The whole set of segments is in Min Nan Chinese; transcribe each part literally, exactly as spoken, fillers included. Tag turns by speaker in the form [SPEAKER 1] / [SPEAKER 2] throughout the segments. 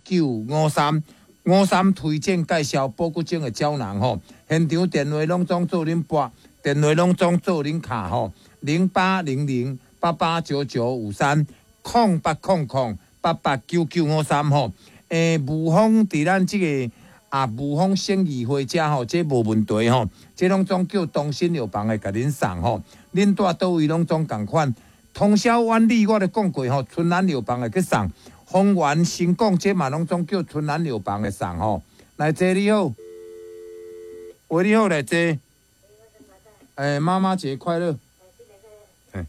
[SPEAKER 1] 九五三。五三推薦介紹保骨精的膠囊吼，現場電話攏總做恁撥，電話攏總做恁敲吼，零八零零八八九九五三，空八空空八八九九五三吼。欸，霧峰佇咱這個啊霧峰省議會遮吼，這無問題吼，這攏總叫東新藥房會共恁送吼，恁蹛佗位攏總仝款。通霄苑里我咧講過吼，春蘭藥房會去送。豐原新港這嘛攏總叫春蘭藥房會送吼。來坐你好，喂你好來坐。欸，媽媽節快樂。欸。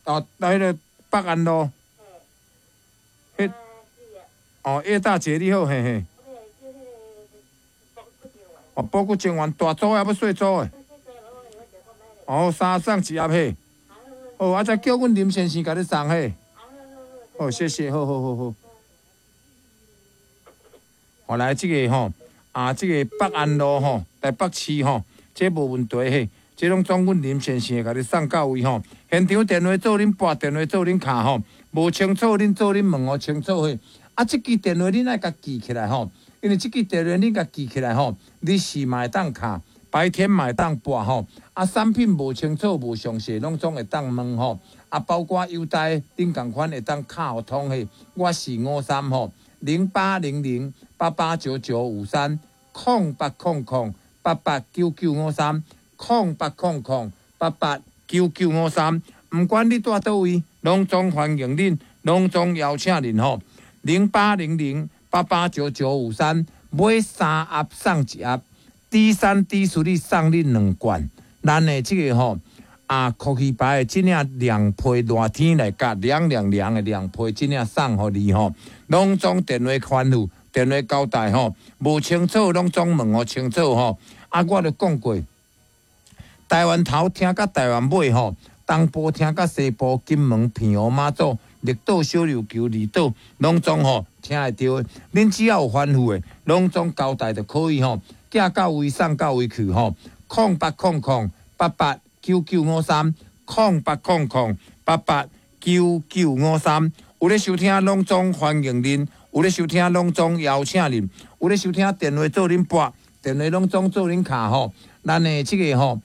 [SPEAKER 1] 哦，來彼个北安路。彼，哦，葉大姐你好，嘿嘿。哦，保骨精丸大組的抑欲細組的？哦，三送一盒嘿。哦，啊，再叫阮林先生共你送嘿。好，謝謝，好好好好。後來這個吼，啊，這個北安路吼，台北市吼，這無問題嘿，這攏總阮林先生會共你送到位吼。現場電話做恁撥，電話做恁敲吼，無清楚恁做恁問予清楚嘿。啊，這支電話恁愛共記起來吼，因為這支電話恁共記起來吼，你是嘛會當敲。白天嘛會當撥吼，啊，產品無清楚、無詳細，攏總會當問吼。啊，包括郵袋，恁仝款會當敲予通嘿。我是五三吼，零八零零八八九九五三，空八空空八八九九五三，空八空空八八九九五三。毋管你蹛佗位，攏總歡迎恁，攏總邀請恁吼。零八零零八八九九五三，買三盒送一盒。D 三 D 四你送你兩罐，咱的這個吼啊，酷奇牌的這領涼皮熱天來佮涼涼涼的涼皮，這領送予你吼，攏總電話吩咐，電話交代吼，無清楚攏總問予清楚吼。啊，我就講過，台灣頭聽到台灣尾吼，東部聽到西部，金門、澎湖、馬祖、綠島、小琉球、離島，攏總吼聽會著的。恁只要有吩咐的，攏總交代就可以吼。寄到位送到位去吼，空八空空八八九九五三，空八空空八八九九五三。有咧收聽，攏總歡迎恁；有咧收聽，攏總邀請恁；有咧收聽，電話做恁撥，電話攏總做恁敲吼。咱的這個吼，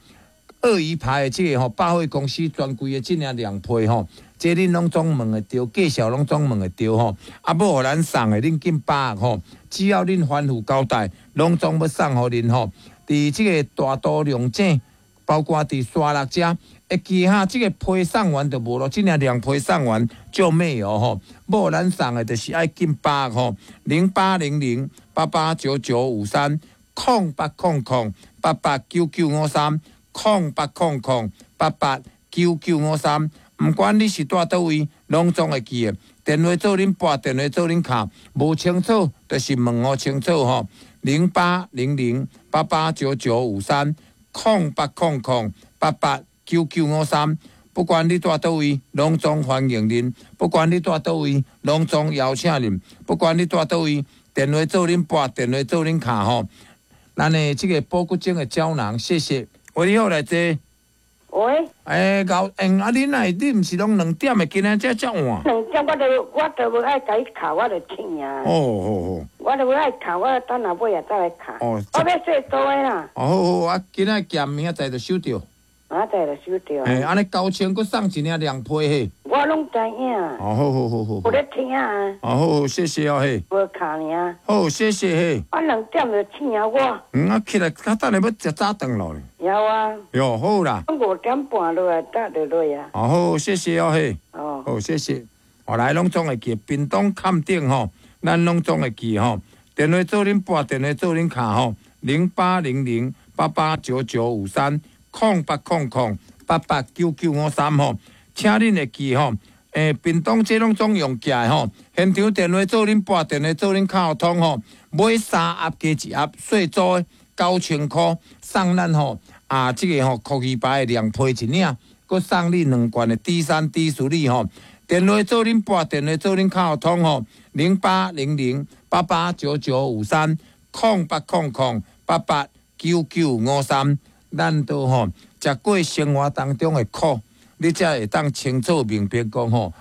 [SPEAKER 1] 鱷魚牌的這個吼，百貨公司專櫃的這領涼皮吼，這恁攏總問會著，介紹攏總問會著吼。啊，欲予咱送的，恁緊把握吼。只要恁吩咐交代，攏總欲送予恁吼。佇這個大肚龍井，包括佇沙鹿遮，會記哈，這個批送完就無囉，這領涼皮送完就沒有吼。欲予咱送的，就是愛緊把握吼。零八零零八八九九五三，空八空空八八九九五三，空八空空八八九九五三。毋管你是蹛佗位，攏總會記得。電話做恁撥，電話做恁敲，無清楚就是問予清楚吼。零八零零八八九九五三，空八空空八八九九五三。不管你蹛佗位，攏總歡迎恁；不管你蹛佗位，攏總邀請恁；不管你蹛佗位，電話做恁撥，電話做恁敲吼。咱的這個保骨精的膠囊，謝謝。喂，你好，來坐。
[SPEAKER 2] 喂。
[SPEAKER 1] 欸，高，欸，啊，恁若你毋是攏兩點的，今仔才遮晚。
[SPEAKER 2] 兩點我就我就無愛共伊敲，我就醒啊。
[SPEAKER 1] 哦哦哦。
[SPEAKER 2] 我就無愛敲，我等下尾仔再來敲。
[SPEAKER 1] 哦。
[SPEAKER 2] 我欲細組的啦。
[SPEAKER 1] 哦好好，啊，今仔寄明仔載就收著。
[SPEAKER 2] 明仔載就收著。
[SPEAKER 1] 欸，按呢九千閣送一領涼皮嘿。
[SPEAKER 2] 我攏知影。
[SPEAKER 1] 哦，好好好好。
[SPEAKER 2] 有咧聽啊。
[SPEAKER 1] 哦，好好，謝謝哦嘿。
[SPEAKER 2] 無敲爾。
[SPEAKER 1] 好，謝謝嘿。
[SPEAKER 2] 我兩點就醒啊我。
[SPEAKER 1] 嗯，啊起來，較等下欲食早頓囉。
[SPEAKER 2] 有啊。
[SPEAKER 1] 喲，好啦。
[SPEAKER 2] 五點半落來，搭就落啊。
[SPEAKER 1] 哦，好，謝謝哦嘿。
[SPEAKER 2] 哦。
[SPEAKER 1] 好，謝謝。後來攏總會記，屏東崁頂吼，咱攏總會記吼。電話做恁撥，電話做恁敲吼，零八零零八八九九五三，空八空空八八九九五三吼，請恁會記吼。欸，屏東這攏總用寄的吼，現場電話做恁撥，電話做恁敲通吼，買三盒加一盒，細組的九千箍送咱吼。啊，這個吼，酷奇牌的涼皮一領，閣送你兩罐的 D 三 D 四哩吼。電話做恁撥，電話做恁敲通吼，零八零零八八九九五三，空八空空八八九九五三。咱都吼，食過生活當中的苦，你才會當清楚明白講吼。